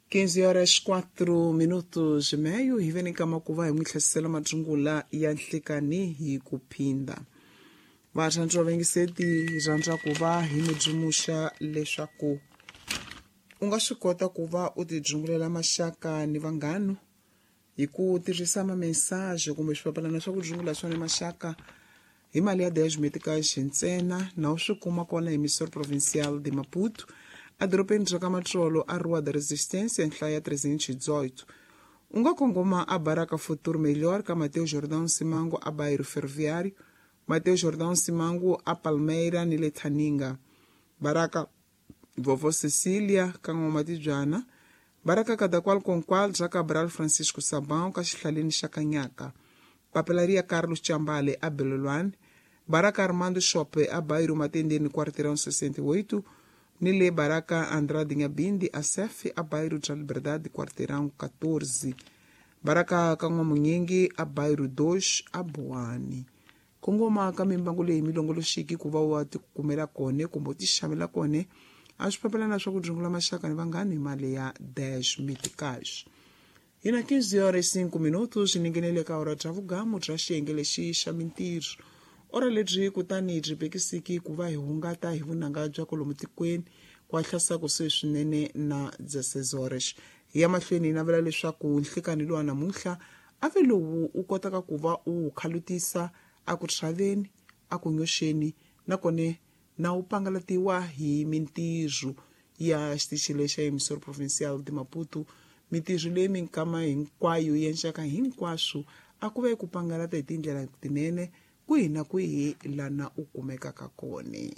15 horas 4 minutos e meio hi veni kama ku va hi n'wi tlhesisela matsungula ya nhlikani hi ku phinda. Varhandzi va vayingiseti, hi rhandza ku va hi mi dzumuxa leswaku u nga swi kota ku va u tidzungulela maxaka ni vanghanu hi ku tirhisa mamensage kumbe swipapalana swa ku dzungula swona maxaka hi mali ya 10 meticais ntsena, na u swi kuma kona hi Emissor Provincial de Maputo, edorobeni ra ka Matsolo, a Rua da Resistência, nhlaya 318. U nga kongoma a Baraka Futuro Melhor ka Mateo Jordão Simango a Bairro Ferroviário, Mateo Jordão Simango a Palmeira ni le Thaninga, Baraka Vovó Cecília ka N'wamatibyana, Baraka Cadaqual Conqual bya Cabral Francisco Sabão ka xihlaleni xa Kanyaka, Papelaria Carlos Chambale a Belolwane, Baraka Armando Shope a Bairro Matendeni Quarteirão 68, ni le Baraka Andrade Nyabindi a Sef a Bairro bya Liberdade Quarteirão 14, Baraka ka N'wamunyingi a Bairro 2 a Buwani. Kongoma ka mimbangu leyi milongoloxiki ku va wa tikumela kone kumbe u ti xavela kone a swipapalana swa ku dzungula maxaka ni vanghani hi mali ya 10 meticais. Hi na 15 horas 5 minutos ni nghenele ka ora bya vugamu bya xiyenge lexi xa mintirho. Ora lebyi kutani byi bekisiki ku va hi hungata hi vunanga bya kolomu tikweni ku hahlasa kusuhi swinene na 16 horas. Hi ya mahlweni hi navela leswaku nhlikani lowa namuntlha a ve lowu u kotaka ku va u wu khalutisa a ku tshaveni, a ku nyoxeni, nakone na wu pangalatiwa hi mintirho ya xitichi lexa Emissor Provincial de Maputo, mintirho leyi minkama hinkwayo yi endlaka hinkwaswo a ku ve ku pangalata hi tindlela tinene kwihi na kwihi lana u kumekaka kona.